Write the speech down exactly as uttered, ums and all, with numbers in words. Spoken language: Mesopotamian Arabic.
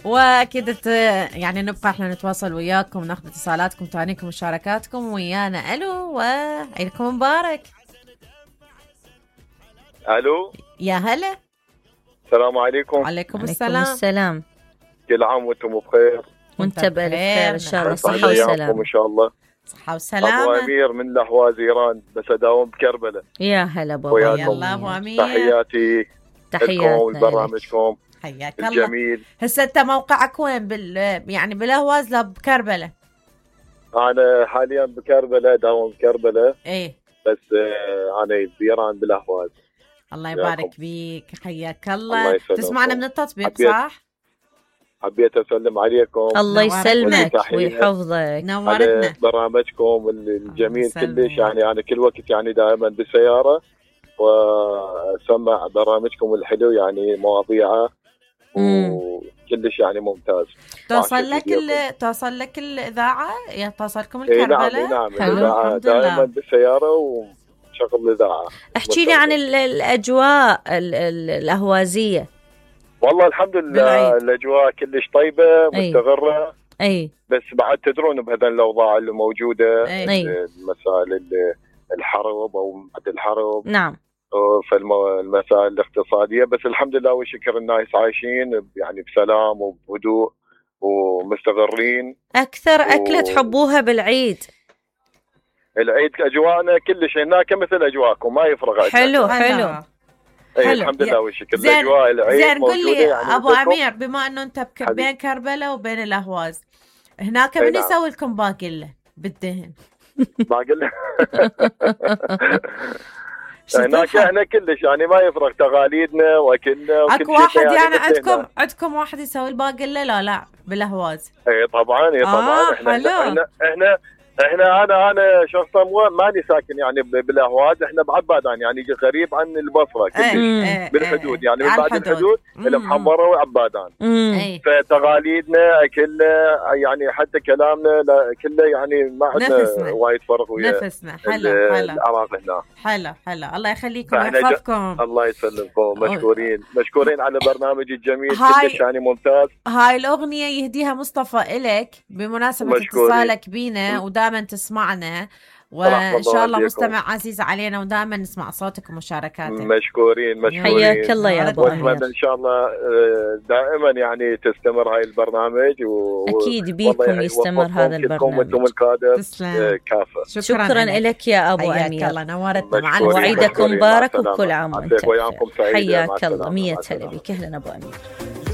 واكيد يعني نبقى احنا نتواصل وياكم، ناخذ اتصالاتكم، تهانيكم ومشاركاتكم ويانا. الو وعيدكم مبارك. الو يا هلا. السلام عليكم. وعليكم السلام. السلام. كل عام وانتم بخير. وانت بألف خير ان شاء الله. صحة وسلامة ان شاء الله. صحة وسلامة. ابو امير من الاهواز ايران، بس اداوم بكربلاء. يا هلا بابا. يلا ابو امير. تحياتي تحياتي لبرنامجكم. حياك الله. الجميل. هسه انت موقعك وين؟ بال يعني بالاهواز لا بكربلاء؟ انا حاليا بكربلاء، داوم بكربلاء. ايه بس انا بايران بالاهواز. الله يبارك بيك. حياك الله. الله تسمعنا من التطبيق صح؟ حبيت اسلم عليكم. الله يسلمك ويحفظك. نورتنا على برنامجكم الجميل كلش. يعني انا كل وقت يعني دائما بالسياره واسمع برامجكم الحلو، يعني مواضيعه وكلش يعني ممتاز. توصل لك ال... توصل لك الاذاعه؟ توصلكم الكربلاء؟ اي نعم نعم الاذاعه دائما بالسياره وشغل الاذاعه. احكي لي عن الاجواء الاهوازيه. والله الحمد لله الاجواء كلش طيبه مستقره. اي بس بعد تدرون بهذا الاوضاع اللي موجوده، أي. مسائل الحرب او بعد الحرب. نعم. فالمسائل الاقتصاديه، بس الحمد لله والشكر الناس عايشين يعني بسلام وبهدوء ومستقرين. اكثر اكله و... تحبوها بالعيد؟ العيد اجواءنا كلش هناك مثل اجواءكم، ما يفرق. حلو حلو. ايه الحمد لله والشكر. الاجواء العيد زين قول لي يعني ابو امير، بما انه انت بك... بين كربلاء وبين الاهواز، هناك من نعم. يسوي لكم باقله بالدهن؟ باقله هناك احنا كلش يعني ما يفرق تقاليدنا واكلنا وكل شيء. اكو واحد يعني, يعني عندكم عندكم واحد يسوي الباقله؟ لا لا بالاهواز. اي طبعا اي طبعا. آه احنا, احنا احنا احنا احنا انا انا شخصا ماني ساكن يعني بالاهواز، احنا بعبادان يعني غريب عن البصره كلش. ايه بالحدود يعني ايه من بعد الحدود المحمره وعبادان. ايه فتقاليدنا اكلنا يعني حتى كلامنا كله يعني ما عندنا وايد فرق ويا نفسنا. حلو حلو العراق هنا. حلو حلو. الله يخليكم ويحفظكم. الله يسلمكم. مشكورين مشكورين على برنامج الجميل كلش يعني ممتاز. هاي الاغنيه يهديها مصطفى إلك بمناسبه اتصالك بينا ودائما تسمعنا، وان شاء الله مستمع عزيز علينا ودائما نسمع صوتك ومشاركاتك. مشكورين مشكورين. حياك الله يا ابو امير. ان شاء الله دائما يعني تستمر هاي البرنامج و... اكيد بيكم يستمر هذا البرنامج. وانتم القادر كافه. شكرا, شكرا لك يا ابو امير. الله نورتنا معنا. وعيدكم مبارك وكل عام وانت بخير. حياك الله. مية هلا بك. اهلا ابو امير.